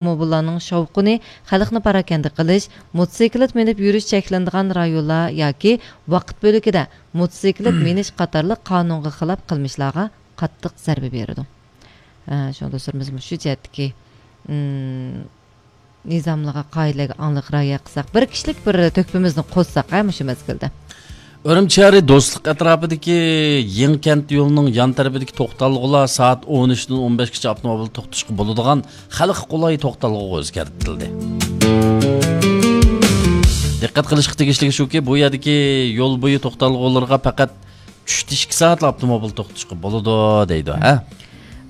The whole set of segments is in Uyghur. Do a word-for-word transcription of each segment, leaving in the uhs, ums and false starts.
ئاپتوموبىللارنىڭ شاۋقۇنى خەلقنى پاراكەندە قىلىش، موتوسىكلىت مىنىپ يۈرۈش چەكلىنىدىغان رايونلار ياكى ۋاقىت بۆلىكىدە موتوسىكلىت مىنىش قاتارلىق قانۇنغا خىلاپ قىلمىشلارغا قاتتىق زەربە بېرىدۇ. ئە، شۇڭا دوستلىرىمىز مۇشۇ جەھەتتىكى، ئىم، نىزاملارغا، قائىدىلەرگە ئاڭلىق رىئايە قىلساق، بىر كىشىلىك بىر تۆھپىمىزنى قوشساق، ھە، مۇشۇ مەزگىلدە. ئۈرۈمچى شەھىرى دوستلۇق ئەتراپىدىكى يېڭىكەنت يولىنىڭ يان تەرىپىدىكى توختالغۇلار سائەت ئون ئۈچتىن ئون بەشكىچە ئاپتوموبىل توختىتىشقا بولىدىغان خەلققە قولاي توختالغۇغا ئۆزگەرتىلدى. دىققەت قىلىشقا تېگىشلىكى شۇكى، بۇ يەردىكى يول بويى توختالغۇلىرىغا پەقەت چۈشتە ئىككى سائەتلا ئاپتوموبىل توختىتىشقا بولىدۇ دەيدۇ، ھە؟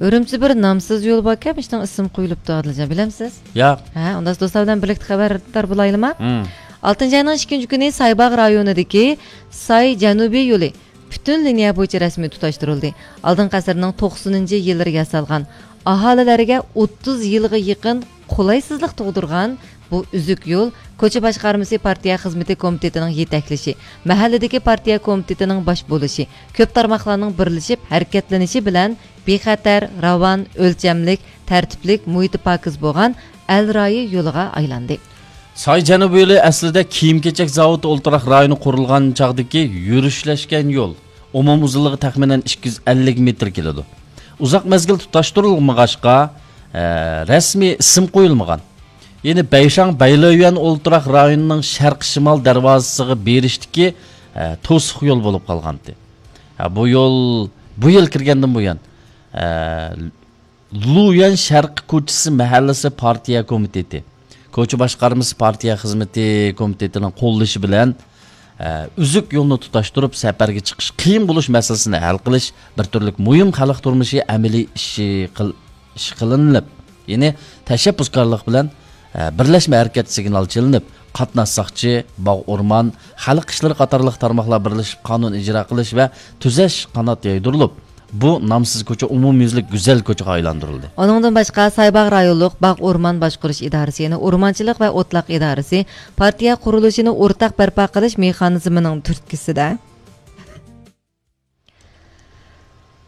ئۈرۈمچىدە بىر نامسىز يول باركەن، ئىشنىڭ ئىسمى قويۇلۇپتۇ، ئادىلجان، بىلەمسىز؟ ياق. ھە، ئۇنداق دوستلار بىلەن بىرلىكتە خەۋەردار بولايلىما؟ ھىم. ئالتىنچى ئاينىڭ ئىككىنچى كۈنى سايباغ رايونىدىكى ساي جەنۇبىي يولى پۈتۈن لىنىيە بويىچە رەسمىي تۇتاشتۇرۇلدى. ئالدىنقى ئەسىرنىڭ توقسىنىنچى يىللىرى ياسالغان، ئاھالىلەرگە ئوتتۇز يىلغا يېقىن قولايسىزلىق تۇغدۇرغان بۇ ئۈزۈك يول كوچا باشقارمىسى پارتىيە خىزمىتى كومىتېتىنىڭ يېتەكلىشى، مەھەللىدىكى پارتىيە كومىتېتىنىڭ باش بولۇشى، كۆپ تارماقلارنىڭ بىرلىشىپ ھەرىكەتلىنىشى بىلەن بىخەتەر، راۋان، ئۆلچەملىك، تەرتىپلىك، مۇھىتى پاكىز بولغان ئەل رايى يولىغا ئايلاندى. ساي جەنۇبىي يولى ئەسلىدە كىيىم-كېچەك زاۋۇتى ئولتۇراق رايونى قۇرۇلغان چاغدىكى يۈرۈشلەشكەن يول. ئومۇمىي ئۇزۇنلۇقى تەخمىنەن ئىككى يۈز ئەللىك مېتىر كېلىدۇ. ئۇزاق مەزگىل تۇتاشتۇرۇلمىغاچقا، ئە، رەسمىي ئىسىم قويۇلمىغان. يەنى بەيشاڭ بەيلۆيۈەن ئولتۇراق رايونىنىڭ شەرقىي شىمال دەرۋازىسىغا بېرىشتىكى، ئە، توسۇق يول بولۇپ قالغانتى. ھە، بۇ يول بۇ يىل كىرگەندىن بۇيان، ئە، لۇيۈەن شەرقىي كوچىسى مەھەللىسى پارتىيە كومىتېتى، كوچا باشقارمىسى پارتىيە خىزمىتى كومىتېتىنىڭ قوللىشى بىلەن، ئە، ئۈزۈك يولنى تۇتاشتۇرۇپ، سەپەرگە چىقىش قىيىن بولۇش مەسىلىسىنى ھەل قىلىش بىر تۈرلۈك مۇھىم خەلق تۇرمۇشى ئەمەلىي ئىشى قىل-، ئىش قىلىنىپ، يەنى تەشەببۇسكارلىق بىلەن، ئە، بىرلەشمە ھەرىكەت سىگنالى چېلىنىپ، قاتناش ساقچى، باغ ئورمان، خەلق ئىشلىرى قاتارلىق تارماقلار بىرلىشىپ قانۇن ئىجرا قىلىش ۋە تۈزەش قانات يايدۇرۇلۇپ، بۇ نامسىز كوچا ئومۇميۈزلۈك گۈزەل كوچىغا ئايلاندۇرۇلدى. ئۇنىڭدىن باشقا، سايباغ رايونلۇق باغ ئورمان باشقۇرۇش ئىدارىسى، يەنى ئورمانچىلىق ۋە ئوتلاق ئىدارىسى، پارتىيە قۇرۇلۇشىنى ئورتاق بەرپا قىلىش مېخانىزمىنىڭ تۈرتكىسىدە،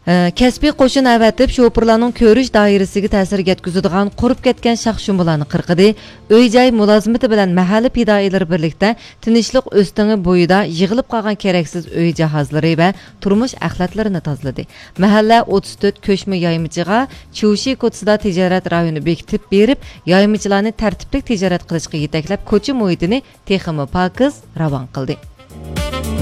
ئە، كەسپىي قوشۇن ئەۋەتىپ، شوپۇرلارنىڭ كۆرۈش دائىرىسىگە تەسىر يەتكۈزىدىغان قۇرۇپ كەتكەن شاخ-شۇمبىلارنى قىرقىدى، ئۆي-جاي مۇلازىمىتى بىلەن مەھەللە پىدائىيلىرى بىرلىكتە تىنچلىق ئۆستىڭى بويىدا يىغىلىپ قالغان كېرەكسىز ئۆي جاھازلىرى ۋە تۇرمۇش ئەخلەتلىرىنى تازىلىدى. مەھەللە ئوتتۇز تۆت كۆچمە يايمىچىغا چيۇشى كوتسىدا تىجارەت رايونى بېكىتىپ بېرىپ، يايمىچىلارنى تەرتىپلىك تىجارەت قىلىشقا يېتەكلەپ، كوچا مۇھىتىنى تېخىمۇ پاكىز، راۋان قىلدى.